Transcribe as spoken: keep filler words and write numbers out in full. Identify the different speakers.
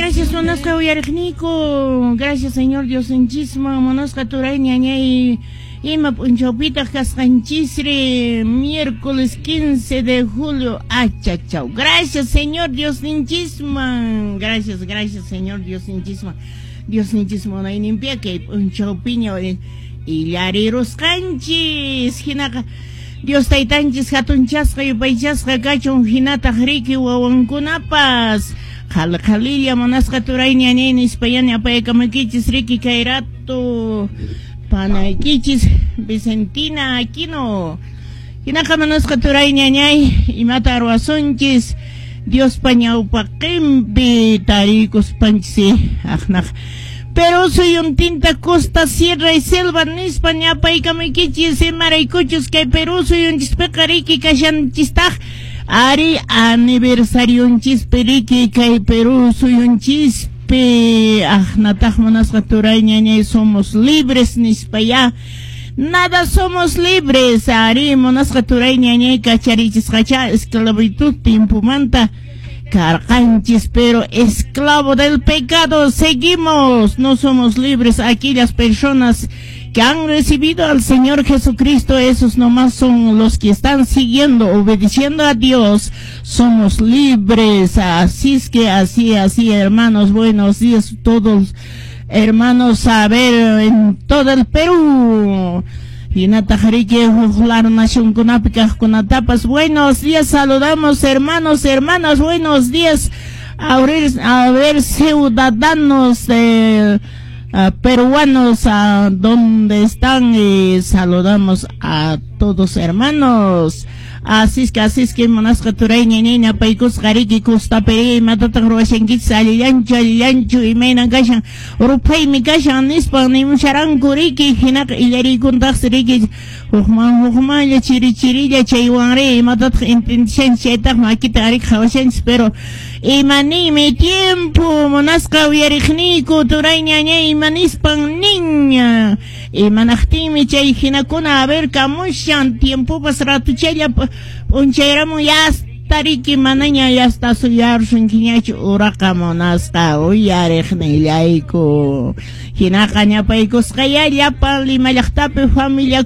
Speaker 1: Gracias, munasqa uyariqniyku. Gracias, Señor Diosninchisman, munasqa turay ñañay, ima p'unchawpitaq kasqanchisri? Miércoles quince de julio. Achachaw. Gracias, Señor Diosninchisman. Gracias, gracias, Señor Diosninchisman. Diosninchisman munayninpiya kay p'unchawpiña illarirusqanchis. Hinaqa Dios taytanchis hatunchasqa yupaychasqa kachun, hinataq riki wawankunapas. Qhali qhalilla, munasqa turay ñañay, nispayani apayakamaykichis riki kay rato panaykichis Vicentina Aquino. Hinaqa, munasqa turay ñañay, imata ruwasunchis Diospa ñawpaqinpi tarikuspanchis aqnaq Perú suyuntinta costa, sierra y selva nispa ñapaykamaykichis, imaraykuchus kay Perú suyunchispiqa riki kashanchistaq ari aniversarionchispi riki kay Perú suyunchispi. Aqnataq, munasqa turay ñañay, somos libres nispa ya. Nada somos libres, ari, munasqa turay ñañay, kacharichisqacha esclavitud tiempomanta karqanchis, pero esclavo del pecado seguimos, no somos libres. Aquellas personas que han recibido al Señor Jesucristo, esos nomás son los que están siguiendo, obedeciendo a Dios, somos libres. Así es que así, así, hermanos, buenos días todos, hermanos, a ver, en todo el Perú. Hinataq riki huk laru nacionkunapi kaqkunatapas buenos días saludamos, hermanos, hermanas, buenos días a ver, a ver, ciudadanos eh, uh, peruanos, a donde están, y saludamos a todos, hermanos. Así es que, así es que, munasqa turay ñañay, apaykusqa riki kustapiri, imatataq ruwashankichis, allillanchu, allillanchu, imaynan kashan, ruphaymi kashan nispan nimusharanku riki. Hinaqa illariykuntaqsi riki hukman hukmanlla, chiri chirilla, chaywanri imatataq entendishanchis, chaytaq makita riki qhawashanchis, pero imaninmi tiempo, munasqa uyariqniyku turay ñañay, imanispan nin, imanaqtinmi chay hinakuna a ver kamushan tiempopas ratuchalla p'unchayramun yasta riki manaña yasta suyarsunkiñachu uraqa, munasqa uyariqnillayku. Hinaqa ñapaykusqaya llapan Lima llaqtapi familia.